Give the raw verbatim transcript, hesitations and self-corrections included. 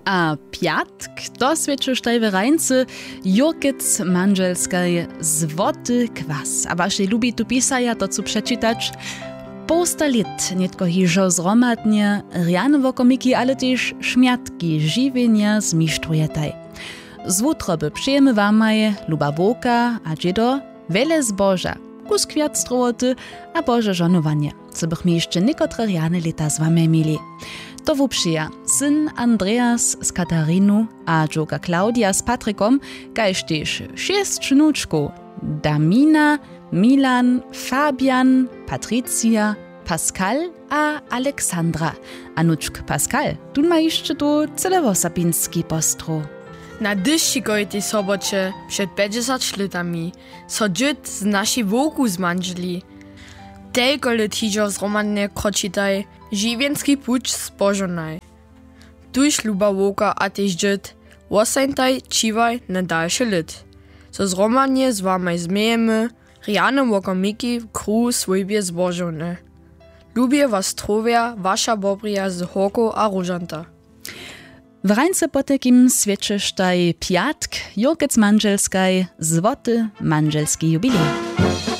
A pjatk to swěćeštaj w rańcy, jurkec mandźelskaj, złoty kwas. A wašej lubi tu pisaja to chcu přečitać. Połsta lět nětko hižo zhromadnje rjane wokomiki, ale tež šmjatki žiwjenja zmištrujetaj. Z wutroby přejemy wamaj, luba wowka a dźědo, wjele zboža, kusk wjac strowoty a bože žonowanje, zo bychmy hišće někotre rjane lěta z wamaj měli. To wupřija syn Andreas z Katarinu a dźowka Claudia z Patrikom, kaž tež šěsć wnučkow: Damina, Milan, Fabian, Patricia, Pascal a Alexandra. A wnučk Pascal, tón ma hišće tu cyle wosapinski postrow. Na dyšćikowitej soboće před pjećdźesać lětami so dźěd z našej wowku zmandźeli. Telko lět hižo zhromadnje kročitaj žiwjenski puć zbožonaj. Tuž, luba wowka a tež dźěd, wostańtaj, čiwaj na dalše lět, zo zhromadnje z wamaj změjemy rjane wokomiki w kruhu swójbje zbožowne. Lubje was trowja waša bobrija z Horkow a Róžanta. W rańce potajkim swjećeštaj pjatk, jurkec mandźelskaj, złoty mandźelski jubilej.